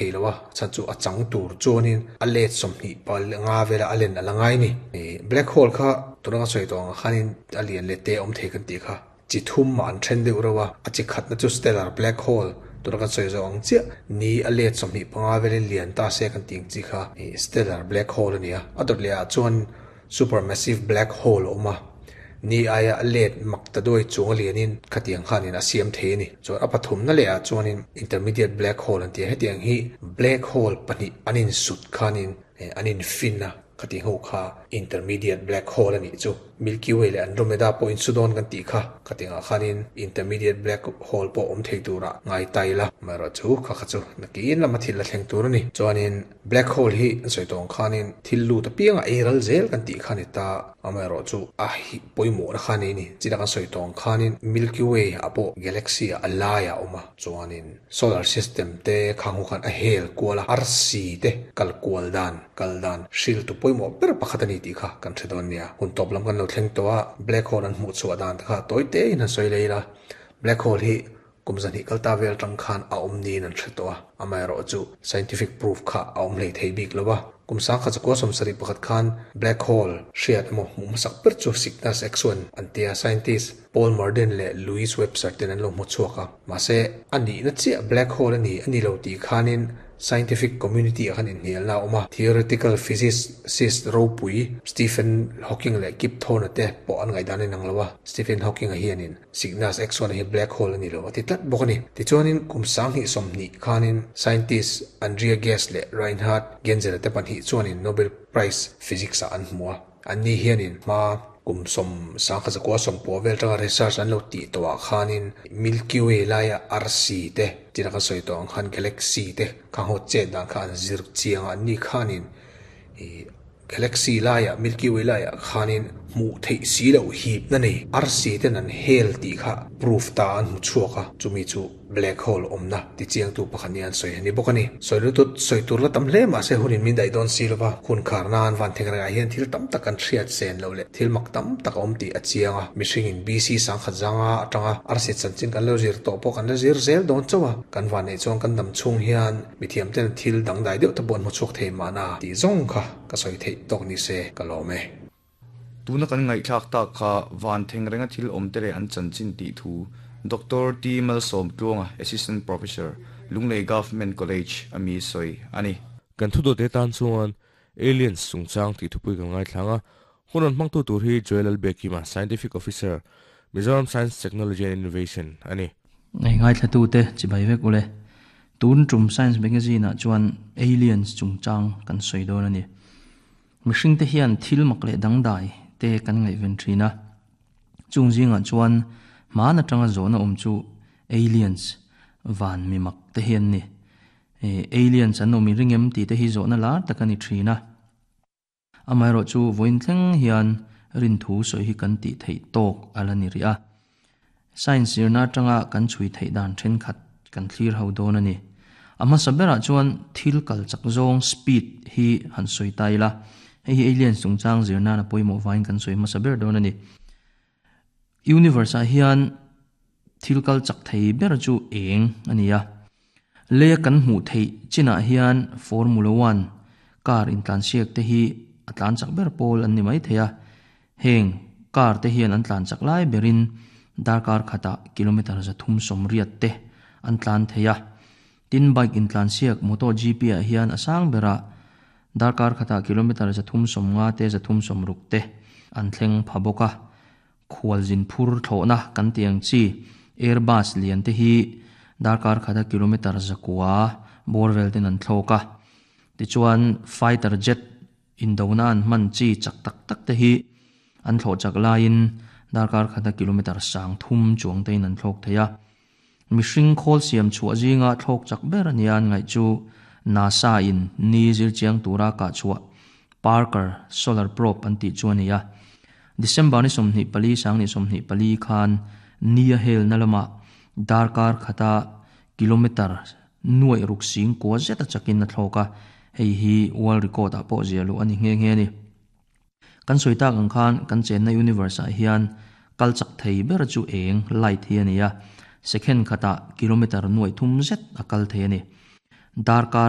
Thei lo a, chhan chu a chang tur chuanin a let 25 vela a len a la ngai ni. Black hole kha tuna ka sawi tawh ang khanin a lian leh te awm thei kan tih kha chi thum ah an then deuh reuh a, a chi khatna chu stellar black hole tuna kan sawi zawh ang chiah ni a let 25 velin lian ta se kan tih ang chi kha stellar black hole a ni a, a dawt leh ah chuan Supermassive black hole a awm a, ni aia a let mak ta duai chung a lianin khatiang khanin a siam thei a ni. Chuan a pathumna leh ah chuanin intermediate black hole an ti a, hetiang hi black hole pahnih an insut khanin an infin a, khatiang ho kha intermediate black hole a nih chu. Milky Way leh Andromeda pawh insu dawn kan tih kha, khatiang ah khanin intermediate black hole pawh awm thei turah ngai ta ila, amaherawhchu kha kha chu nakin lama thil la thleng tur a ni. Chuanin. Black hole hi an sawi tawh ang khanin thil lut apianga ei ral zel kan tih kha a ni ta, amaherawhchu a hi pawimawhna kha a nei a ni. China kan sawi tawh ang khanin Milky Way ah pawh galaxy ah a laiah a awm a, chuanin solar system te khang ho khan a hel kual a, arsi te kal kual dan kal dan hriltu pawimawh ber pakhat a ni tih kha kan hre dawn nia. Hun tawp lam kan lo thleng tawh a, black hole an hmuh chhuah dan te kha tawi tein han sawi leh ila, black hole hi Kum zahnih kal ta vel atang khan a awm niin an hre tawh a, amaherawhchu scientific proof kha a awm hlei thei bik lo a. Kum 1971 khan black hole hriat emaw hmuh hmasak ber chu Cygnus X-one an tia scientist Paul Murden leh Louis Webster ten an lo hmu chhuak a. Mahse, a nihna chiah black hole a ni a ni lo tih khanin Scientific community ah khan inhnialna a awm a, theoretical physicist ropui Stephen Hawking leh Kip Thorne te pawh an ngaihdan a inang lo a, Stephen Hawking-a hianin Cygnus X-one hi black hole a ni lo a ti tlat bawk a ni. Tichuanin kum 2020 khanin scientist Andrea Ghez leh Reinhard Genzel te pahnih chuanin Nobel Prize Physics ah an hmu a, anni hianin hma kum 1990 vel tanga research an lo tih tawhah khanin Milky Way laia arsi te, tina kan sawi tawh ang khan galaxy te kha ho chet dan kha an zir chiang a, anni khanin ih Galaxy laiah Milky Way laiah khanin hmuh theih si loh hipna nei arsi ten an hel tih kha proof ta an hmu chhuak a, chumi chu black hole awmna ti chiangtu pakhat nia an sawi a ni bawk a ni. Sawi lutut sawi tur la tam hle mahse hunin min daih dawn si lova, hun khar nan van theng rengah hian thil tam tak kan hriat sen loh leh thil mak tam tak a awm tih a chiang a, mihringin BC sangkhat zanga atanga arsi chanchin kan lo zir tawh pawh kan la zir zel dawn chauh a, kan vanneih chuan kan dam chhung hian mithiam ten thil dangdai deuh te pawh an hmu chhuak thei mahna tih zawng kha ka sawi theih tawk ni se ka lawm e. Tuna kan ngaihthlak tak kha van theng renga thil awm te leh an chanchin tih thu Doctor T Malsawmtluanga, Assistant Professor, Lunglei Government College a mi sawi a ni. Kan thudawte tan chuan Aliens chungchang tih thupui kan ngaithlang a, hun rawn hmangtu tur hi Joel Lalbiakima, Scientific Officer, Mizoram Science Technology and Innovation a ni. Ngei ngaithlatute chibai vek ule. Tun tum Science Magazine ah chuan Aliens chungchang kan sawi dawn a ni. Mihringte hian thil mak leh dangdai te kan ngaihven thin a. Chung zingah chuan hman atanga zawhna awm chu Aliens, van mi mak te hi an ni. Aliens an awm i ring em tih te hi zawhna lar tak a ni thin a. Amaherawhchu vawiin thleng hian rinthu sawi hi kan tih theih tawk a la ni rih a. Science zirna atanga kan chhui theih dan thenkhat kan thlir ho dawn a ni. A hmasa berah chuan thil kal chak zawng speed hi han sawi ta ila, hei hi aliens chungchang zir nan a pawimawh vangin kan sawi hmasa ber dawn a ni. Universe ah hian thil kal chak thei ber chu eng a ni a. Leia kan hmuh theih chinah hian Formula One car intlansiak te hi a tlan chak ber pawl an ni mai thei a. Heng car te hian an tlan chak lai berin darkar khatah kilometer 380 te an tlan thei a. Tin bike intlansiak MotoGP ah hian a sang berah darkar khatah kilometer 350 te 360 te an thleng pha bawk a. Khualzin phur thlawhna kan tih ang chi Airbus lian te hi darkar khata kilometer 900 bawr vel ten an thlawk a. Tichuan fighter jet indona an hman chi chak tak tak te hi an thlawh chak laiin darkar khata kilometer 3000 chuang tein an thlawk thei a. Mihring khawl siam chhuah zinga thlawk chak ber a nia an ngaih chu NASA in ni zir chiang tura kah chhuah Parker Solar Probe an tih chu a ni a. December ni 24 2024 khan ni a helna lamah darkar khata kilometer nuaih ruk sing kua zeta chakin a thlawk a, hei hi world record ah pawh ziah luh a ni nghe nghe a ni. Kan sawi tak ang khan kan chenna universe ah hian kal chak thei ber chu eng, light, hi a ni a, second khatah kilometer nuaih thum zet a kal thei a ni. Darkar